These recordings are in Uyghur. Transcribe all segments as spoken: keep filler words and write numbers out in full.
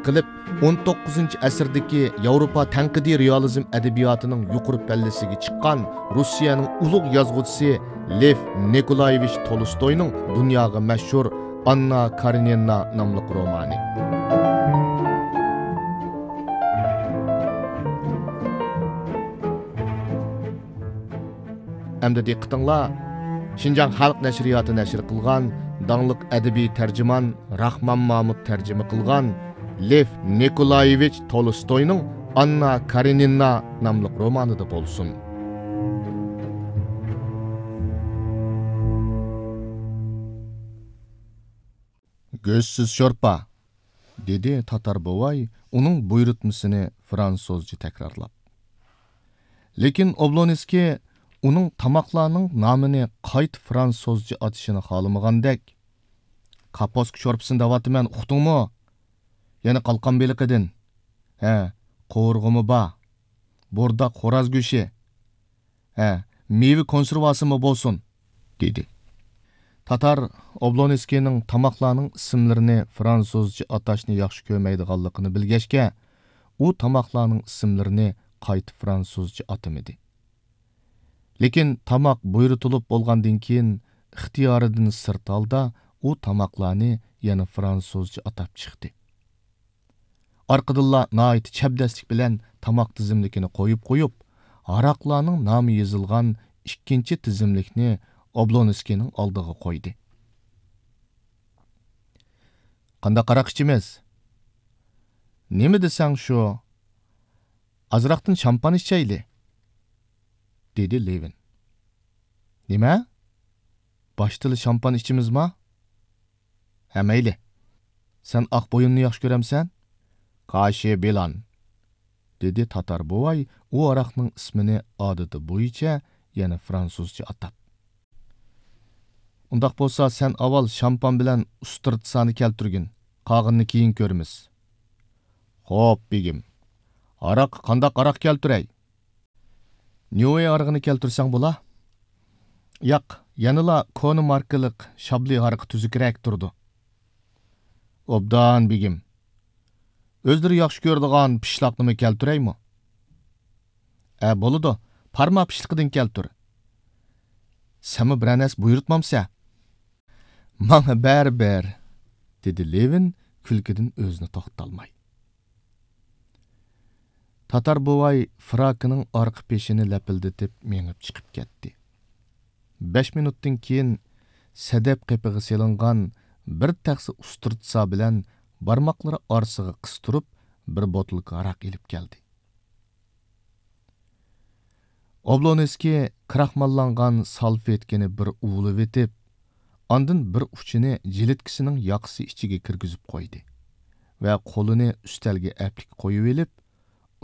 قىلىپ، ئون توققۇزىنچى ئەسىردىكى ياۋروپا تەنقىدىي رېئالىزم ئەدەبىياتىنىڭ يۇقىرى پەللىسىگە چىققان روسىيەنىڭ ئۇلۇغ يازغۇچىسى لېف نىكولايېۋىچ تولستوينىڭ دۇنياغا مەشھۇر ئاننا كارېنىنا ناملىق رومانى. ئەمدى دىققىتىڭلار شىنجاڭ خەلق نەشرىياتى نەشر قىلغان داڭلىق ئەدەبىي تەرجىمان راخمان مامۇت تەرجىمە قىلغان لېف نىكولايېۋىچ تولستوينىڭ ئاننا كارېنىنا ناملىق رومانىدا بولسۇن. «گۆشسىز شورپا»، دېدى تاتار بوۋاي ئۇنىڭ بۇيرۇتمىسىنى فرانسۇزچە تەكرارلاپ. لېكىن ئوبلونسكىي ئۇنىڭ تاماقلارنىڭ نامىنى قايتا فرانسۇزچە ئاتىشىنى خالىمىغاندەك، «كاپوسكا شورپىسىنى دەۋاتىمەن، ئۇقتۇڭمۇ؟ يەنە قالقان بېلىقىدىن، ھە، قوۋۇرغىمۇ بار، بورداق خوراز گۆشى، ھە، مېۋە كونسېرۋاسىمۇ بولسۇن» دېدى. تاتار ئوبلونسكىينىڭ تاماقلارنىڭ ئىسىملىرىنى فرانسۇزچە ئاتاشنى ياخشى كۆرمەيدىغانلىقىنى بىلگەچكە، ئۇ تاماقلارنىڭ ئىسىملىرىنى قايتا فرانسۇزچە ئاتىمىدى. لېكىن تاماق بۇيرۇتۇلۇپ بولغاندىن كېيىن، ئىختىيارىدىن سىرت ھالدا ئۇ تاماقلارنى يەنە فرانسۇزچە ئاتاپ چىقتى. ئارقىدىنلا ناھايىتى چەبدەسلىك بىلەن تاماق تىزىملىكىنى قويۇپ قويۇپ، ھاراقلارنىڭ نامى يېزىلغان ئىككىنچى تىزىملىكنى ئوبلونسكىينىڭ ئالدىغا قويدى. «قانداق ھاراق ئىچىمىز؟» «نېمە دېسەڭ شۇ. ئازراقتىن شامپان ئىچەيلى»، دېدى لېۋىن. «نېمە؟ باشتىلا شامپان ئىچىمىزما؟» «ھە، مەيلى. سەن ئاق بويۇننى ياخشى كۆرەمسەن؟» «كاشى بىلان»، دېدى تاتار بوۋاي ئۇ ھاراقنىڭ ئىسمىنى ئادىتى بويىچە يەنە فرانسۇزچە ئاتاپ. «ئۇنداق بولسا سەن ئاۋۋال شامپان بىلەن ئۇسترىتسانى كەلتۈرگىن، قالغىنىنى كېيىن كۆرىمىز.» «خوپ، بېگىم. ھاراققا قانداق ھاراق كەلتۈرەي؟» «نيۇۋېي ھارىقىنى كەلتۈرسەڭ بولا.» «ياق، يەنىلا كونا ماركىلىق شابلى ھارىقى تۈزۈكرەك تۇرىدۇ.» «ئوبدان، بېگىم. ئۆزلىرى ياخشى كۆرىدىغان پىشلاقنىمۇ كەلتۈرەيمۇ؟» «ئە، بولىدۇ، پارما پىشلىقىدىن كەلتۈر.» «سەنمۇ بىرەر نەرسە بۇيرۇتمامسەن؟» «ماڭا بەرىبىر»، دېدى لېۋىن كۈلكىدىن ئۆزىنى توختىتالماي. تاتار بوۋاي فراكىنىڭ ئارقا پېشىنى لەپىلدىتىپ مېڭىپ چىقىپ كەتتى. بەش مىنۇتتىن كېيىن سەدەپ قېپىغا سېلىنغان بىر تەخسە ئۇسترىتسا بىلەن بارماقلىرى ئارىسىغا قىستۇرۇپ بىر بوتۇلكا ھاراق ئېلىپ كەلدى. ئوبلونسكىي كىراخماللانغان سالفېتكىنى بىر ئۇۋۇلىۋېتىپ، ئاندىن بىر ئۇچىنى جىلىتكىسىنىڭ ياقىسى ئىچىگە كىرگۈزۈپ قويدى ۋە قولىنى ئۈستەلگە ئەپلىك قويۇۋېلىپ،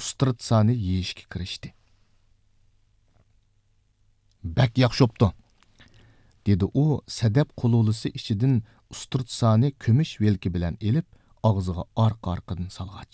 ئۇسترىتسانى يېيىشكە كىرىشتى. «بەك ياخشى بوپتۇ»، دېدى ئۇ سەدەپ قۇلۇلىسى ئىچىدىن ئۇسترىتسانى كۈمۈش ۋىلكا بىلەن ئېلىپ، ئاغزىغا ئارقا-ئارقىدىن سالغاچ.